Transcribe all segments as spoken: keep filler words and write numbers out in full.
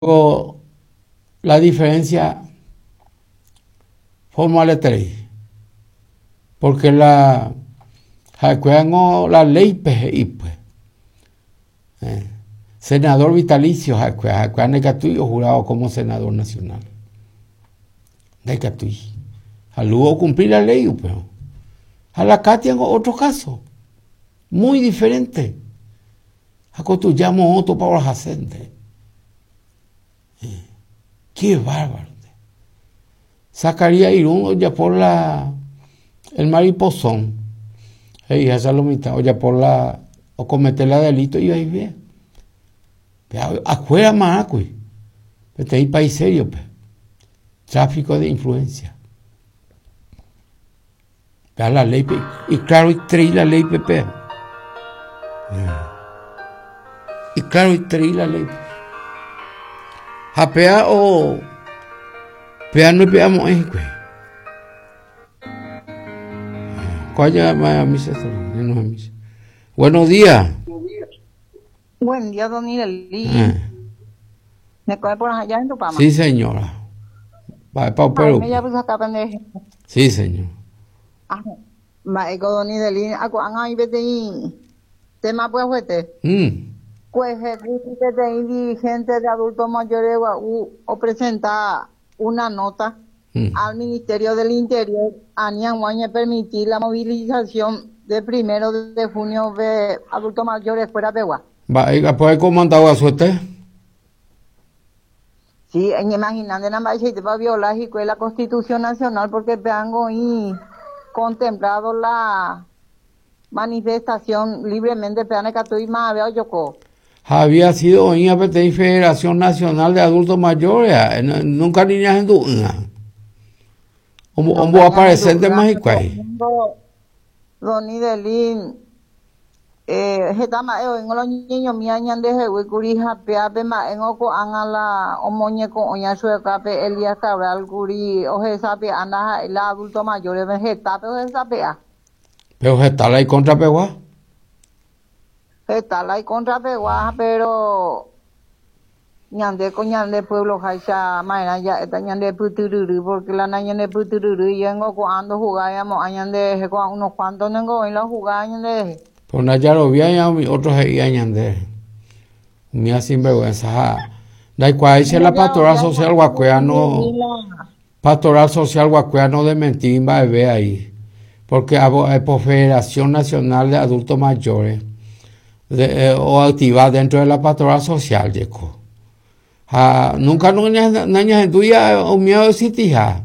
La diferencia formaleterei porque la ha'ekuérango la léipe he'ípe eh, senador vitalicio ha'ekuéra ha'ekuéra ndaikatúi ojurado como senador nacional, ndaikatúi ha luego ocumplir la ley upérõ. Ha la Katiango otro caso muy diferente ha ko tuja moõ topa orahasénte. eh, qué bárbaro. Zacarías Irún ojapo la el mariposón he'iháicha lo mitã ojapo la ocomete la delito ivaive afuera marãkuri peteĩ país seriope tráfico de influencia pe la ley y claroiterei la ley pe y claroiterei la ley ha péa o péa noipe'amo'ãi hikuái ko'ág̃a misa. Misa. Buenos días. Buen día, don Ireli. Eh. ¿Me coge por allá en tu pama? Sí, señora. Va pa Perú. Sí, señor. Ah, mba'éko don Idelín, ko'ág̃a oĩ peteĩ tema pyahuete. Mm. Kuehe peteĩ dirigente de adultos mayores gua'u opresenta una nota Mm. al Ministerio del Interior ani hag̃ua oñepermitir la movilización de primero de junio de adultos mayores fuera pegua. Mba'e comandado guasuete? Sí, imaginando mba'eichaitépa violar hikuái la Constitución Nacional porque peango oĩ contemplado la manifestación libremente peana katu mave ojoko. Había sido oĩva peteĩ Federación Nacional de Adultos Mayores, nunca ni ñahendu'ỹva. Omboaparecéntema hikuái. Don Idelín, eh, heta mba'e oĩngo loñeñomía ñandehegui kuri hapéape mba'éngo ko'ág̃a la omoñeko'õi chuekápe Elías Cabral kuri ohesape'a ndaha'éi la adulto mayores hetápe ohesape'a. Pero heta la icontrapegua. Heta la icontrapegua, pero ñandéko ñande pueblo háicha ma'erã ja'éta ñande pytyryry porque la ñande pytyryry yengo ko'ã ndojugáiamo'ã ñanderehe ko'ã unos cuantos nengo oĩ la ojugáva ñanderehe. Pero ndajaroviái umi otro he'íva ñande umi sinvergüenza ha ndaikuaáicha la pastoral social guakuéra no pastoral social guakuéra no desmentí mba'eve ahí porque por Federación Nacional de Adultos Mayores de, eh, o activa dentro de la pastoral social jeko ha nunca no nañahendúi umi oexistija.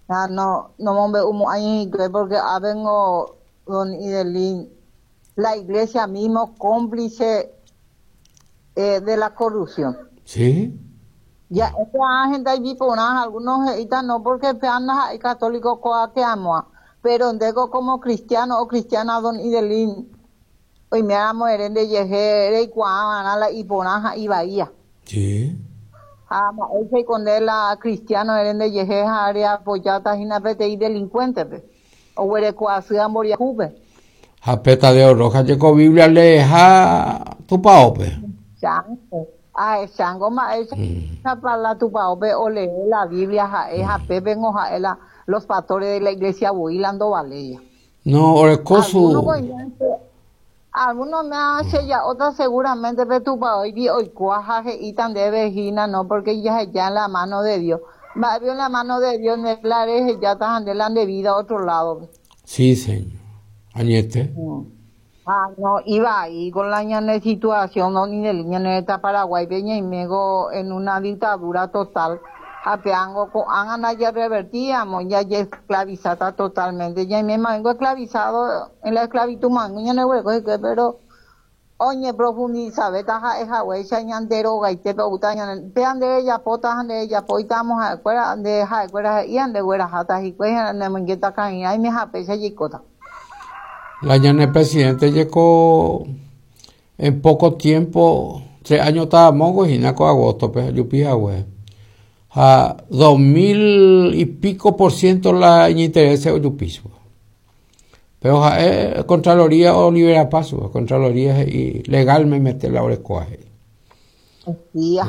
Ah, no, no mombe'umo'ãi hikuái porque avengo don Idelín, la iglesia mismo cómplice eh, de la corrupción. Sí. Ya, esta gente allí por algunos he'íta no porque pean católico ko'a que amoa, pero ndéko como cristiano o cristiana don Idelín, oiméramo ere ndejehe reikuaava'erã la iporã ha ivaía. Sí. Ha mba'éicha nde la cristiano ere ndejehe ha reapoyáta hína peteĩ delincuente-pe oguereko asy mboriahúpe. Ha pe Tadeo Rojas jeko Biblia leeha tupãópe. Chango. Ahechango mba'éicha mm. la tupãópe olee la Biblia ha'e mm. hapépengo ha'e la los pastores de la iglesia voi la ndovaléi. No, oreko su... Algunos me hace ya otra seguramente pe tupãói oikuaa ha he'íta ndéve hína no porque ya ya en la mano de Dios. Mba'épe en la mano de Dios nde la rehejáta ha nde la nde vida otro lado. Sí, señor. Añete. Mm. Ah, no, iba ahí con la ñane situación, no, ni del ñane Paraguay, ñaimégo en una dictadura total. Apeango ko'ág̃a ya revertíamos, ya ya esclavizada totalmente, ya me mango esclavizado en la esclavitud mango ñane pero oñe profundiza beta ha'e haguéicha ñande rogaitépe outa ñane pe ande rejapóta ha nde rejapóitamo ha'ekuéra nde ha'ekuéra he'i ha ndegueraháta hikuái ha nemoingéta ka'irãime hapéicha jaikóta. La ñane presidente llegó en poco tiempo, tres años estábamos hína ko agosto-pe jupi hague. Ha dos mil y pico por ciento la iñinterese ojupíva. Pero ha'e Contraloría olivera paso, Contraloría he'i legal memete la orekóva he'i. Sí,